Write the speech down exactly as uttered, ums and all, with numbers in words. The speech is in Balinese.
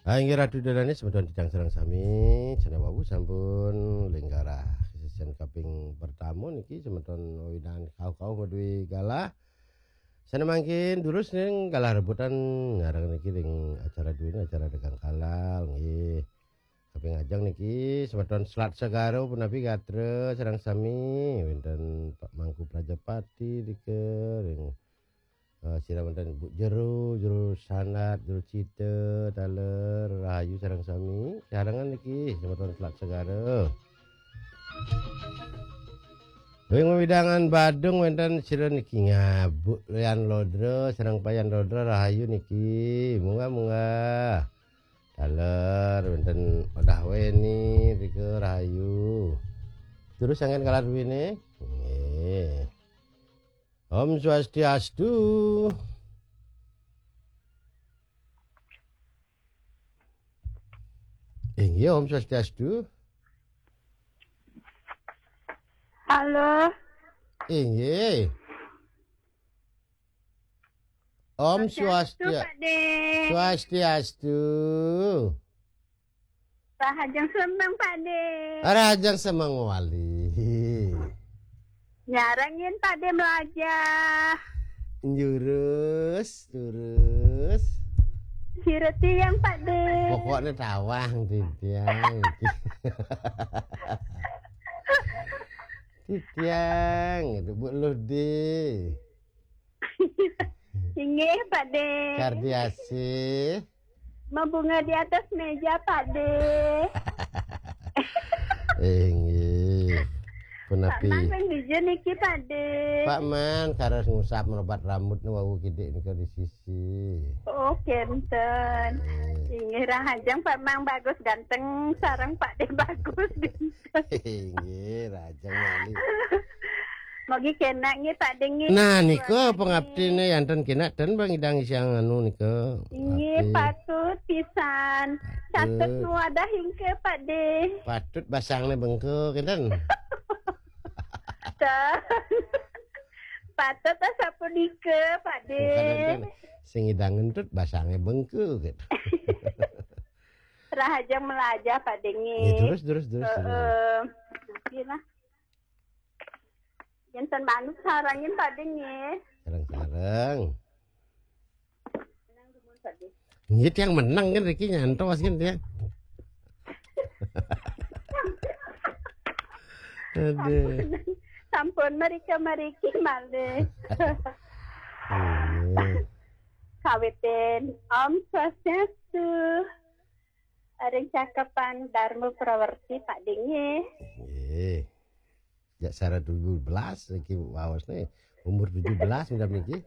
Ah, inggih Ratu Dodane semeton titiang sareng sami, cenah wau sampun lenggara session kaping pertama niki semeton wewidangan kauh-kauh madué galah. Sané mangkin durus ning galah rebutan nyareng niki ring acara duwin, acara dagang halal nggih. Kaping ajeng niki semeton Selat Segara punapi gatra sareng sami, wénten Pak Mangku Prajapati nika ring Eh, sira wénten Bu Jero, Jero Sandat, Jero Cita, taler rahayu sareng sami. Sarengan niki semeton Selat Segara. Ring wewidangan Badung wénten sira niki Ngabuk Lian Lodra sareng Payan Lodra rahayu niki. Munggah-munggah. Taler wénten Odah Weni rika rahayu. Terus sanget kalar duwine. Nggih. Om Swastiastu. Inggih, Om Swastiastu. Halo. Inggih. Om Swastiastu, Swastia Pak De. Swastiastu. Rahajeng semeng, Pak De. Rahajeng semeng wali. Nyarengin, Pak De, melajah. Jurus, jurus. Sira tiyang, Pak De. Pokoknya tawang titiang. Titiang, itu Bu Ludi. Inggih, Pak De. Kardiasih. Membunga di atas meja, Pak De. Inggih. Pak Punapi? Man ring dija niki, Pak De. Pak Man, karos ngusap merobat rambut wau kidik nika di sisi. Oh, kenten. Eh. Inggih, rahajeng Pak Man bagus ganteng, sareng Pak De bagus ganteng. Inggih, rahajeng wali. Mogi kenak nggih, Pak De nggih. Nah, nika pangaptine yanten kenak ten bang idang siang anu nika. Inggih, Api. Patut pisan. Patut nuwadah ingke, Pak De. Patut basangne bengke kenten. Patut sapunika, Pak De. Bukan enten. Sing idang ngentut basangne bengke gitu. Rahajeng melajah, Pak De nggih. Ya, terus, terus, terus, terus. Heeh. Nggih lah. Enten manut sarengin, Pak De nggih. Sareng-sareng. Nggih, tiang menang kan Riki nyantos kan tiang. Aduh. Sampun merika meriki malih. Iya. Kawitin Om Swastiastu. Ring cakepan Dharma Prawerti, Pak De nggih. Nggih. Jak sara tujuh belas iki waosne umur tujuh belas udah niki.